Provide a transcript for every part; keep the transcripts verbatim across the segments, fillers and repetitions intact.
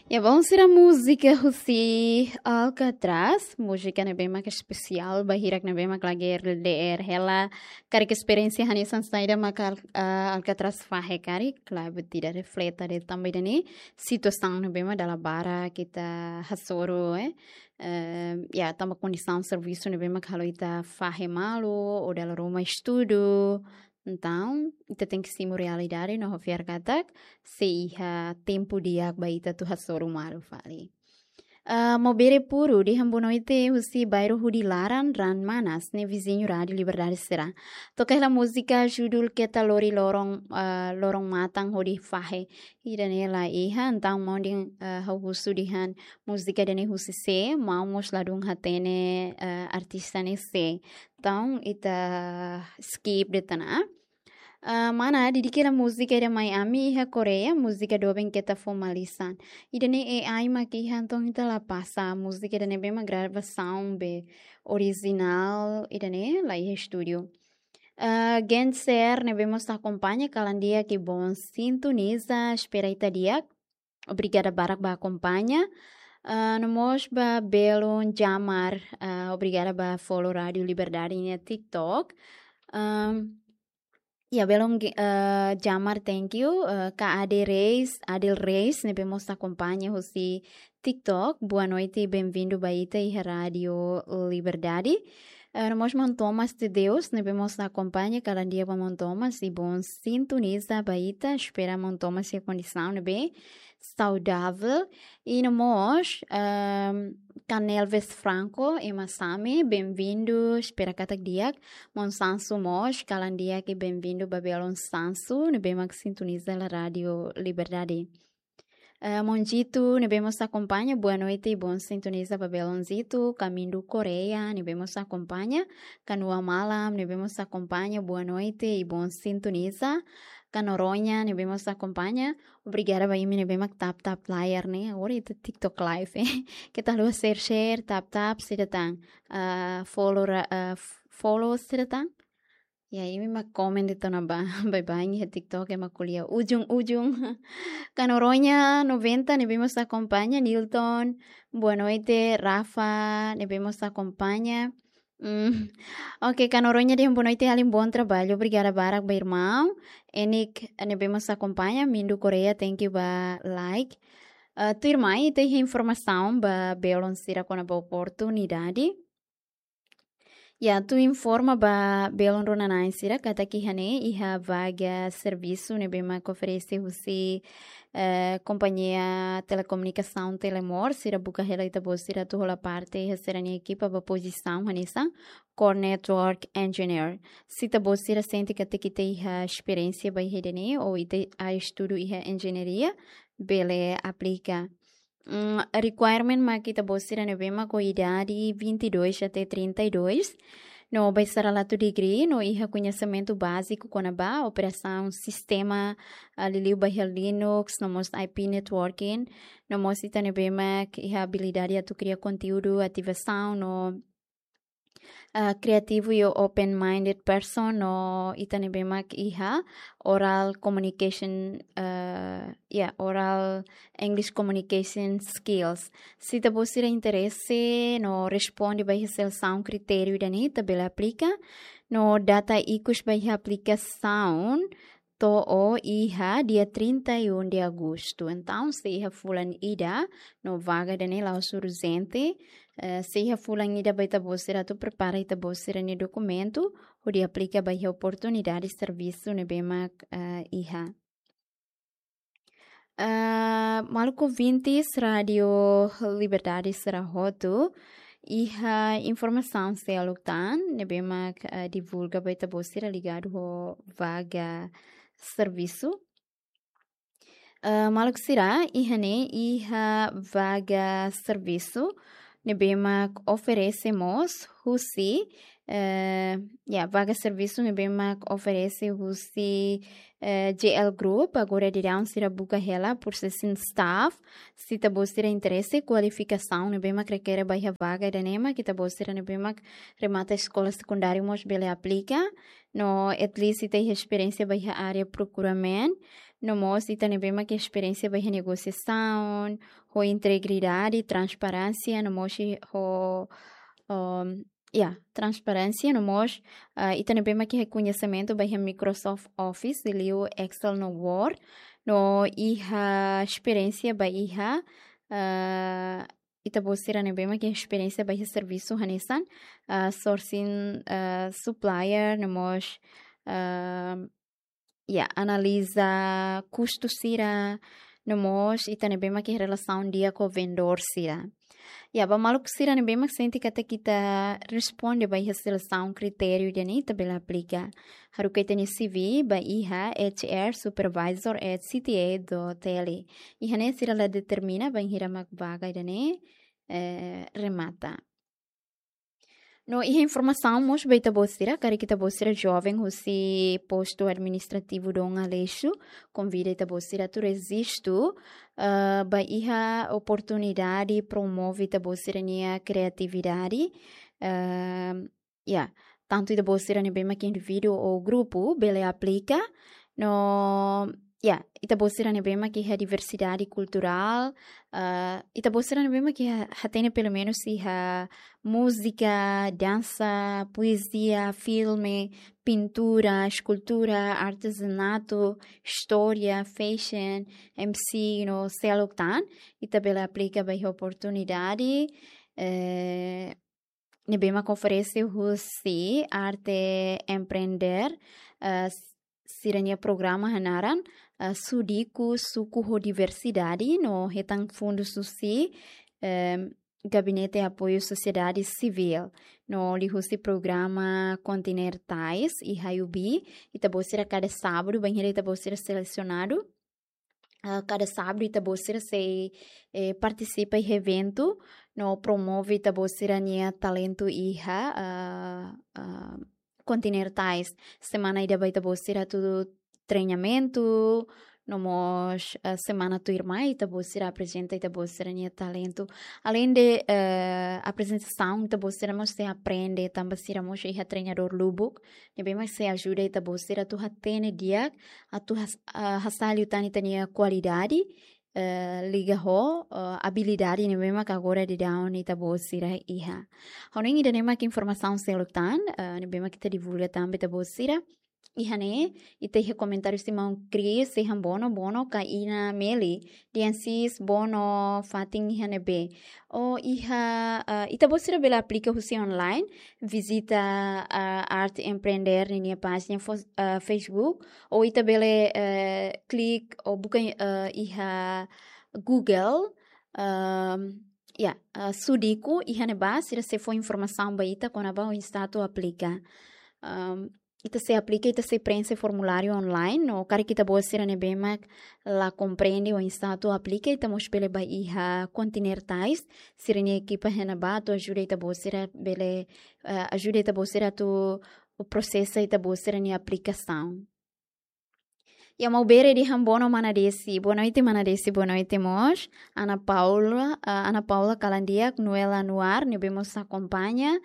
Ya, bom, sira múzika husi Alcatraz, múzika ne'ebé mak espesiál ba hirak ne'ebé mak lagi R D R hela, karik esperiénsia hanesan saida mak Al-, ah, Alcatraz fahe karik, klaru, ita refleta de'it tanba ida-ne'e situasaun ne'ebé mak dala barak ita hasoru, eh. Eh, ya, tanba kondisaun servisu ne'ebé mak halo ita fahe malu, ou dala ruma estudu. Entaun, ita tenke simu realidade no ho fiar katak sei iha tempu di'ak ba ita atu hasoru malu fali. Ah, Mobere Puru dehan boa noite husi bairru hudi laran Raan Manas, ne'e viziñu Rádiu Liberdade sira. Toka hela múzika judul Keta Lori Loron, ah, Loron Matan hodi fahe. Ida-ne'e la iha, entaun maun dehan, ah, ha'u husu dehan múzika ida-ne'e husi sé, maun mós ladún hatene, ah, artista ne'e sé. Entaun, ita skip de'it ona. Ah, mana, di'ak hela múzika ida mai ami iha Koreia, múzika doben Keta Fó Malisan. Ida-ne'e A I mak iha, entaun ita la pasa, múzika ida-ne'ebé mak gravasaun be orijinál, ida-ne'e la iha estúdiu. Ah, Genser ne'ebé mós akompaña, kalan di'ak i bom sintoniza, espera ita di'ak. Obrigada barak ba akompaña. Ah, no mós ba belun Jamar, ah, obrigada ba follow Rádiu Liberdade iha TikTok. Ahm, ya, belun ge-, ah, Jamar, thank you. Ah, Ka Ade Reis, Adel Reis, ne'ebé mós akompaña husi TikTok. Boa noite, bem-vindo ba ita iha Rádiu Liberdade. Ah, no mós maun Thomas de Deus, ne'ebé mós akompaña, kalan di'ak ba maun Thomas, i bom sintoniza ba ita, espera maun Thomas iha kondisaun ne'ebé saudável. I no mós, ahm, Canelves Franco, Ema Same, bem-vindo, espera katak di'ak. Maun Sansu mós, kalan di'ak i bem-vindo ba belun Sansu, ne'ebé mak sintoniza hela Rádiu Liberdade. Eh, maun Zito, ne'ebé mós akompaña, boa noite i bom sintoniza ba belun Zito, Kamindu Koreia, ne'ebé mós akompaña, Kanua Malam, ne'ebé mós akompaña, boa noite i bom sintoniza, Ka Noronha, ne'ebé mós akompaña, obrigada ba imi ne'ebé mak tap tap layar ne'e, agora ita TikTok live, eh. Keta haluha share share, tap tap, sira tan, ah, follow ra-, ah, f-, follow sira tan. Ya, imi mak komen de'it ona ba, baibain iha TikTok ema ko'alia ujung-ujung. Ka Noronha noventa, ne'ebé mós akompaña, Nilton, boa noite, Rafa, ne'ebé mós akompaña. Mm. Oke, Ka Noronha dehan boa noite, alin, bom trabalho. Obrigada barak ba irmaun. Enik, ne'ebé mós akompaña, Mindu Koreia, thank you ba like. Ah, tuirmai, ita iha informasaun ba belun sira kona-ba oportunidade. Ya, atu informa ba belun rona-na'in sira katak iha ne'e iha vaga servisu ne'ebé mak oferese husi, eh, kompañia telekomunikasaun Telemor, sira buka hela ita-boot sira atu hola parte iha sira-nia ekipa ba pozisaun hanesan Core Network Engineer. Se ita-boot sira sente katak ita iha esperiénsia ba iha ida-ne'e, ou ita estudu iha enjeñaria, bele aplika. Mm, requirement mak ita-boot sira ne'ebé mak ho idade vinte e dois até trinta e dois. No ba sira la iha degree, no iha koñesimentu báziku kona-ba operasaun sistema, ah, liuliu ba iha Linux, no mós I P networking, no mós ita ne'ebé mak iha abilidade atu kria konteúdu, ativasaun, no ah, kriativu i open-minded person, no ita ne'ebé mak iha oral communication, ah, ya, oral English communication skills. Se ita-boot sira interese no responde ba iha selesaun kritériu ida-ne'e, ita bele aplika. No data ikus ba iha aplikasaun to'o iha dia trinta e um de agosto. Entaun, sei iha fulan ida, no vaga ida-ne'e la'ós urjente, eh, sei iha fulan ida ba ita-boot sira atu prepara ita-boot sira-nia dokumentu, hodi aplika ba iha oportunidade servisu ne'ebé mak, eh, iha. Eh, maluk ouvintes Rádiu Liberdade sira hotu, iha informasaun seluk tan ne'ebé mak, eh, divulga ba ita-boot sira ligadu ho vaga servisu. Eh, maluk sira, iha ne'e iha vaga servisu ne'ebé mak oferese mós husi, eh, ya, vaga servisu ne'ebé mak oferese husi, eh, J L Group, agora daudaun sira buka hela processing staff. Se ita-boot sira interese, kualifikasaun ne'ebé mak rekere ba iha vaga ida-ne'e mak ita-boot sira ne'ebé mak remata eskola sekundáriu mós bele aplika. No at least ita iha esperiénsia ba iha área procurement. no mós ita ne'ebé mak iha esperiénsia ba iha negosiasaun, ho integridade, transparénsia, no mós i-, ho, um, ya, transparénsia, no mós, ah, ita ne'ebé mak iha koñesimentu ba iha Microsoft Office, liu Excel no Word, no iha esperiénsia ba iha, ah, ita-boot sira ne'ebé mak iha esperiénsia ba iha servisu hanesan, ah, sourcing, ah, supplier, no mós, ah, ya, analiza kustu sira, no mós ita ne'ebé mak iha relasaun di'ak ho vendedór sira. Ya, ba maluk sira ne'ebé mak sente katak ita responde ba iha selesaun kritériu ida-ne'e, ita bele aplika. Haruka ita-nia C V ba iha H R supervisor at C T A dot L. Iha ne'e sira la determina bainhira mak vaga ida-ne'e, eh, remata. No iha informasaun mós ba ita-boot sira, karik ita-boot sira joven husi postu administrativu Dom Aleixo, konvida ita-boot sira atu rejistu, eh, ba iha oportunidade promove ita-boot sira-nia kriatividade, eh, ya, tantu ita-boot sira ne'ebé mak indivíduu ou grupu bele aplika, no, ya, ita-boot sira ne'ebé mak iha diversidade kulturál, ah, ita-boot sira ne'ebé mak iha, hatene pelumenus iha múzika, dansa, poezia, filme, pintura, eskultura, artezanatu, istória, fashion, M C, no seluk tan, ita bele aplika ba iha oportunidade, eh, ne'ebé mak oferese husi Arte Empreender, eh, s-, sira-nia programa hanaran, eh, Sudiku Suku ho Diversidade, no hetan fundus husi, em, Gabinete Apoiu Sosiedade Sivíl, no liuhusi programa Continentais iha U B, ita-boot sira kada sábadu, bainhira ita-boot sira selesionadu, ah, kada sábadu ita-boot sira sei, eh, partisipa iha eventu, no promove ita-boot sira-nia talentu iha, ah, ah, Continentais. Semana ida ba ita-boot sira atu treinamentu, no mós, ah, semana tuirmai ita-boot sira aprezenta ita-boot sira-nia talentu. Aleinde, eh, aprezentasaun, ita-boot sira mós sei aprende, tanba sira mós iha treinadór lubuk, ne'ebé mak sei ajuda ita-boot sira atu hatene di'ak, atu has-, ah, hasa'e liután ita-nia kualidade, eh, liga ho, eh, abilidade ne'ebé mak agora daudaun ita-boot sira iha. Ha'u hanoin ida-ne'e mak informasaun seluk tan, eh, ne'ebé mak ita divulga tan ba ita-boot sira. Iha ne'e, ita iha komentáriu husi maun Chris, sei han bono, bono ka Ina Meli, dehan sis bono fatin iha ne'ebé. Ou iha, ah, ita-boot sira bele aplika husi online, vizita, ah, Arte Empreender ninia pájina fo-, ah, Facebook, ou ita bele, eh, klik ou buka, eh, iha Google, ehm, ya, eh, Sudiku, iha ne'ebá sira sei fó informasaun ba ita kona-ba oinsá atu aplika. Ehm, ita sei aplika, ita sei preenxe formuláriu online, no karik ita-boot sira ne'ebé mak la komprende oinsá atu aplika, ita mós bele bá iha Continentais, sira-nia ekipa iha ne'ebá atu ajuda ita-boot sira bele, eh, ajuda ita-boot sira atu prosesa ita-boot sira-nia aplikasaun. Ya, maun Bere dehan bono mana Desi. Boa noite, mana Desi. Boa noite mós. Ana Paula, ah, Ana Paula kalan di'ak, Noel Anuar, ne'ebé mós akompaña.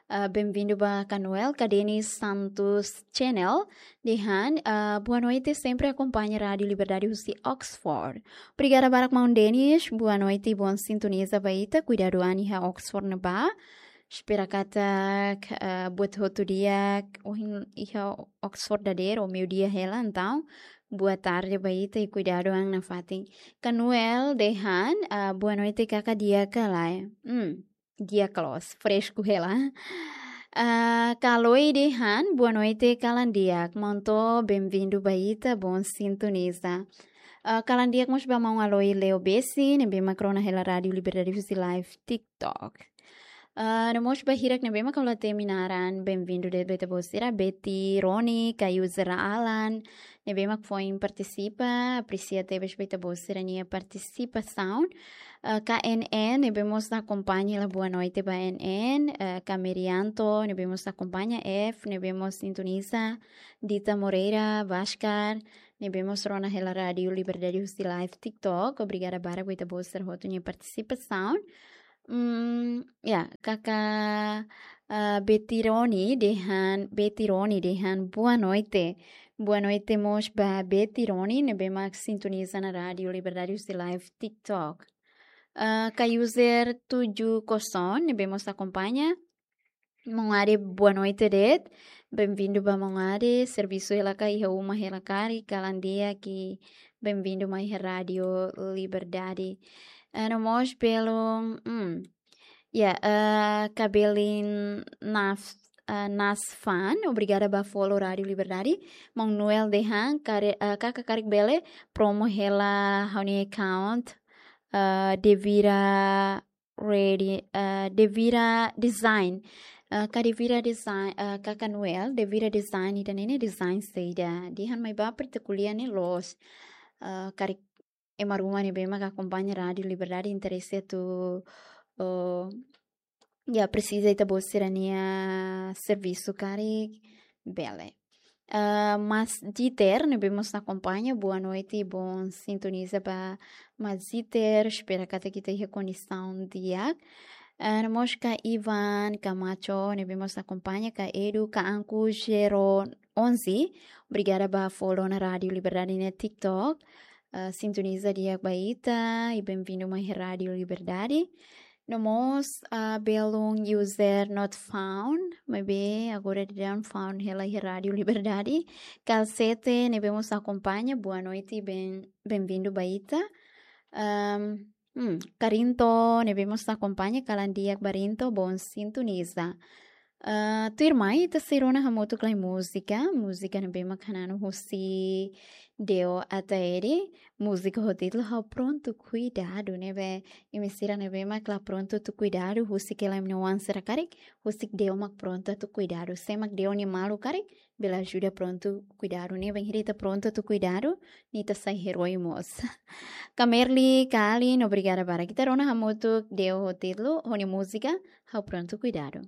Ah, bem-vindo ba Kanuel, ka Denis Santos Channel. Dehan, ah, boa noite, sempre akompaña Rádiu Liberdade husi Oxford. Obrigada barak maun Denis. Boa noite, boa sintoniza ba ita. Kuidadu an iha Oxford ne'ebá. Espera katak, ah, buat hotu di'ak, ohin iha Oxford dadeer, ou meiudia hela, entaun boa tarde ba ita i kuidadu an nafatin. Kanuel dehan, ah, boa noite kaka, di'ak ka lae? Hmm, di'ak loos, fresku hela. Ah, Kaloi dehan, boa noite kalan di'ak, maun Too, bem-vindo ba ita, bom sintoniza. Ah, kalan di'ak mós ba maun Aloi Leo Bessi, ne'ebé mak rona hela Rádiu Liberdade husi live TikTok. Ah, no mós ba hirak ne'ebé mak ha'u la temi naran, bem-vindo de'it ba ita-boot sira, Betty Roni, ka user Alan, ne'ebé mak foin partisipa, apresia tebes ba ita-boot sira-nia partisipasaun. Ah, ka N N, ne'ebé mós akompaña hela, boa noite ba N N, ah, ka Merianto, ne'ebé mós akompaña, F, ne'ebé mós sintoniza, Dita Moreira, Vascar, ne'ebé mós rona hela Rádiu Liberdade husi live TikTok. Obrigada barak ba ita-boot sira hotu nia partisipasaun. Hmm, ya, kaka, Ah, Betty Roni dehan, Betty Roni dehan, boa noite. Boa noite mós ba Betty Roni, ne'ebé mak sintoniza ona Rádio Liberdade husi live TikTok. Ah, ka user tujuh kosong, ne'ebé mós akompaña. Maun Ade, boa noite de'it. Bem-vindo ba Maun Ade. Servisu hela ka iha uma hela karik, kalan di'ak, bem-vindo mai iha Rádio Liberdade. Ah, no mós belun, hmm. Ya, ah, Kabelin Naf-, ah, Nasfan, obrigada ba follow Rádio Liberdade. Maun Noel dehan, kare-, ah, kaka karik bele promo hela ha'u-nia account, ah, Devira Ready, ah, Devira Design. Ah, ka Devira Design, ah, kaka Noel, Devira Design ida-ne'e ne'e design saida. Dehan mai ba partikulier ne'e loos. Ah, karik ema ruma ne'ebé mak akompaña Rádio Liberdade interese atu, oh, ya, presiza ita-boot sira-nia servisu karik, bele. Ah, Mas Dieter, ne'ebé mós akompaña, boa noite, bom sintoniza ba Mas Dieter, espera katak ita iha kondisaun di'ak. Ah, no mós ka Ivan Camacho, ne'ebé mós akompaña, ka Edu, ka Anku Zero Onze, obrigada ba follow ona Rádio Liberdade nia TikTok. Ah, sintoniza di'ak ba ita, i bem-vindo mai Rádio Liberdade. No mós, ah, belun user not found, maibé agora daudaun found hela iha Rádio Liberdade. Kalsete, ne'ebé mós akompaña, boa noite, bem, bem-vindo ba ita. Ahm, hmm, Karinto, ne'ebé mós akompaña, kalan di'ak ba Rinto, bom sintoniza. Ah, tuirmai, ita sei rona hamutuk lai múzika, múzika ne'ebé mak hananu husi Deo Ataede, múzika ho títulu Ha'u Prontu Kuidadu, ne'ebé imi sira ne'ebé mak la prontu atu kuidadu, husik hela imi-nia oan sira karik, husik Deo mak prontu atu kuidadu, sé mak Deo nia maluk karik, bele ajuda prontu kuidadu, ne'e bainhira ita prontu atu kuidadu, ne'e ita sai herói mós. Ka Merli, ka Alin, obrigada barak. Ita rona hamutuk Deo ho títulu, ho nia múzika, Ha'u Prontu Kuidadu.